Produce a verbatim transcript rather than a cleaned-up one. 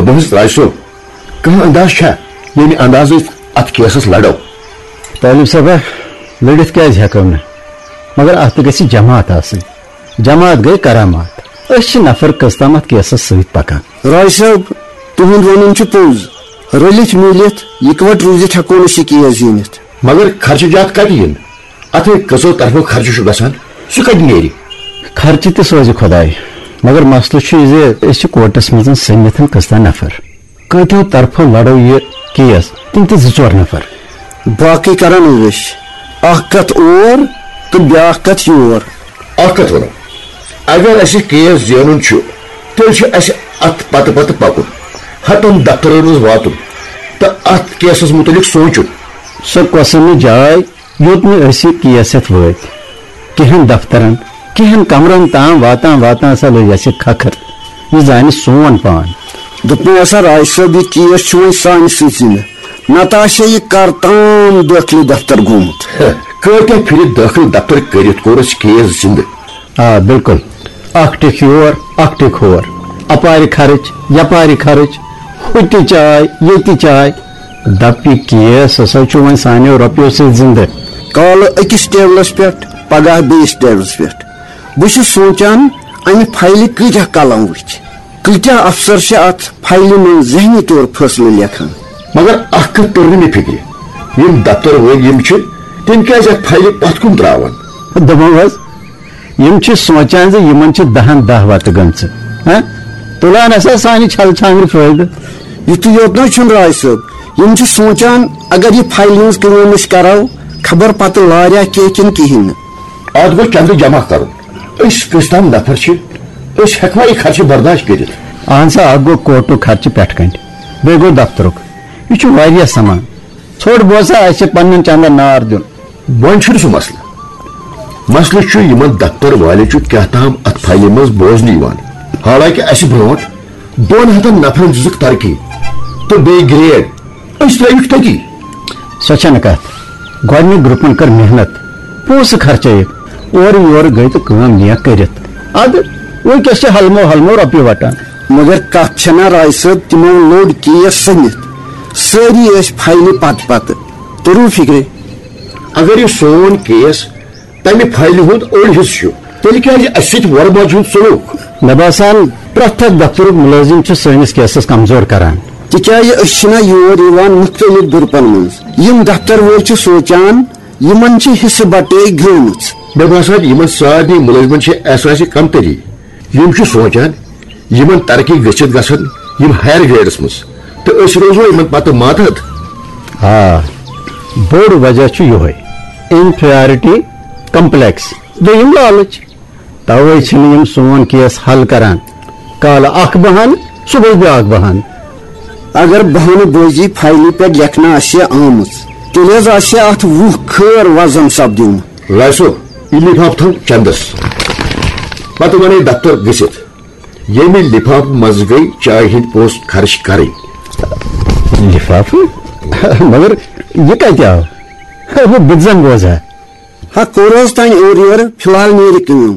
دوٚپمَس، "راج صٲب، کانٛہہ انداز چھا، ییٚمہِ اندازٕ أسۍ اتھ کیسس لڑو؟" طالب صٲبہ، لٔڑِتھ کیازِ ہٮ۪کو نہٕ؟ مگر اتھ تہِ گژھِ جماعت آسٕنۍ۔ جماعت گٔے کرامات۔ أسۍ چھِ نفر کٔژ تام اتھ کیسس سۭتۍ پکان۔ راج صٲب، تُہُنٛد وَنُن چھُ پوٚز۔ رٔلِتھ میٖلِتھ، یِکوَٹ روٗزِتھ ہٮ۪کو نہٕ أسۍ یہِ کیس زیٖنِتھ۔ مگر خرچہٕ جات کتہِ یِن؟ اتھ ہے کٔژو طرفو خرچہٕ چھُ گژھان، سُہ کتہِ نیرِ؟ خرچہٕ تہِ سوزِ خۄداے، مگر مسلہٕ چھُ یہِ زِ أسۍ چھِ کورٹس منٛز سٔمِتھ کٔژتام نفر۔ کٲتیو طرفو لڑو یہِ کیس، تِم تہِ زٕ ژور نفر۔ باقٕے کرن عٲش، اکھ کتھ اور تہٕ بیاکھ کتھ یور۔ اکھ کتھ ونو، اگر اسہِ کیس زینُن چھُ، تیٚلہِ چھُ اسہِ اتھ پتہٕ پتہٕ پکُن، ہتن دفترن منٛز واتُن تہٕ اتھ کیسس مُتعلق سونٛچُن۔ سۄ کۄسہٕ نہٕ جاے، یوٚت نہٕ أسۍ یہِ کیس ہٮ۪تھ وٲتۍ۔ کینٛہن دفترن، کینٛہن کمرن تام واتان واتان ہسا لٔج اسہِ کھکھر۔ یہِ زانہِ سون پان۔ دوٚپمو ہسا راج صٲب، یہِ کیس چھُ وۄنۍ سانہِ سۭتۍ زِندٕ۔ نتہٕ آسہِ ہے یہِ کر تام دٲخلہٕ دفتر گوٚمُت۔ ہے، کٲتیٛاہ پھِرِ دٲخلہٕ دفتر کٔرِتھ کوٚر اَسہِ کیس زِندٕ۔ آ، بِلکُل۔ اکھ ٹِکھ یور، اکھ ٹِکھ ہور۔ اپارِ خرٕچ، یپارِ خرٕچ، ہُتہِ چاے، ییٚتہِ چاے۔ دپ، یہِ کیس ہسا چھُ وۄنۍ سانیو رۄپیو سۭتۍ زِندٕ۔ کالہٕ أکِس ٹیبلس پٮ۪ٹھ، پگاہ بیٚیِس ٹیبلس پٮ۪ٹھ۔ بہٕ چھُس سونٛچان، امہِ فایلہِ کۭتیٛاہ قلم وٕچھِ؟ کۭتیٛاہ افسر چھِ اتھ فایلہِ منٛز ذہنی طور فٲصلہٕ لیکھان؟ مگر اکھ کتھ توٚر نہٕ مےٚ فکرِ، یِم دفتر وٲلۍ یِم چھِ، تِم کیٛازِ اتھ فایلہِ پتھ کُن تراوان؟ دوٚپمو حظ، یِم چھِ سونٛچان زِ یِمن چھِ دہن دہ وتہٕ گٔمژٕ۔ ہہ؟ تُلان ہسا سانہِ چھلہٕ چھانٛگرِ فٲیدٕ۔ یُتُے یوت نہ چھُنہٕ راج صٲب، یِم چھِ سونٛچان، اگر یہِ فایلہِ ہٕنٛز کٲم أسۍ کرو، خبر پتہٕ لاریا کینٛہہ کِنہٕ کِہیٖنۍ نہٕ۔ اتھ گوٚو چندٕ جمع کرُن۔ أسۍ کٔژ تام نفر چھِ، أسۍ ہٮ۪کوا یہِ خرچہٕ برداشت کٔرِتھ؟ اہن سا، اکھ گوٚو کوٹُک خرچہٕ پٮ۪ٹھٕ کنہِ، بیٚیہِ گوٚو دفترُک۔ یہِ چھُ واریاہ سامان۔ ژھوٚٹ بوزا، اسہِ چھِ پننٮ۪ن چندن نار دیُن۔ وۄنۍ چھُنہٕ سُہ مسلہٕ۔ مسلہٕ چھُ، یِمن دفتر والٮ۪ن چھُ کیٛاہ تام اتھ فایلہِ منٛز بوزنہٕ یِوان، حالانکہِ اسہِ برونٛٹھ دۄن ہتن نفرن دِژٕکھ ترقی تہٕ بیٚیہِ گریڈ۔ أسۍ ترٲوِکھ تٔتی۔ سۄ چھنہٕ کتھ۔ گۄڈٕنِکۍ گروپن کٔر محنت، پونٛسہٕ خرچٲیِکھ، اورٕ یورٕ گٔے تہٕ کٲم نیک کٔرِتھ۔ ادٕ وٕنکیٚس چھِ ہلمو ہلمو رۄپیہِ وٹان۔ مگر کتھ چھےٚ نا راج صٲب، تِمو لوٚڑ کیس سٔمِتھ۔ سٲری ٲسۍ فایلہِ پتہٕ پتہٕ۔ توٚرُو فِکرِ؟ اگر یہِ سون کیس تمہِ فایلہِ ہُنٛد اوٚڑ حصہٕ چھُ، تیٚلہِ کیٛازِ اَسہِ سۭتۍ وۄرٕ ماجہِ ہُنٛد سلوٗک؟ مےٚ باسان، پرٛٮ۪تھ اکھ دفترُک مُلٲزِم چھُ سٲنِس کیسَس کمزور کران۔ تِکیٛازِ أسۍ چھِنہ یور یِوان مُختٔلِف گرُپن منٛز۔ یِم دفتر وٲلۍ چھِ سونٛچان، یِمن چھِ حصہٕ بٹے گٔمٕژ۔ مےٚ باسان، یِمن سارنٕے مُلٲزِمن چھِ احساسِ کمتری۔ یِم چھِ سونٛچان، یِمن ترقی گٔژھِتھ گژھن یِم ہایر گریڈس منٛز، تہٕ أسۍ روزو یِمن پتہٕ ماتحت۔ آ، بوٚڑ وجہ چھُ یِہوٚے، انفیریٹی کمپلیکس۔ دوٚیِم لالٕچ۔ توے چھِنہٕ یِم سون کیس حل کران۔ کالہٕ اکھ بہانہٕ، صبحٲے بیاکھ بہانہٕ۔ اگر بہانہٕ بٲزی فایلہِ پٮ۪ٹھ لیکھنہٕ آسہِ ہے آمٕژ، تیٚلہِ حظ آسہِ ہے اتھ وُہ خٲر وزن سپدیومُت۔ لاسو، یہِ لفافہٕ تھاو چندس۔ پتہٕ ونے دفتر گٔژھِتھ، ییٚمہِ لفافہٕ منٛز گٔے چایہِ ہٕنٛدۍ پونٛسہٕ خرٕچ کرٕنۍ۔ لفافہٕ؟ مگر یہِ کتہِ آو؟ ہُہ بِتزن بوزا۔ ہا، کوٚر حظ تانۍ اورٕ یورٕ، فی الحال نیرِ کٲم۔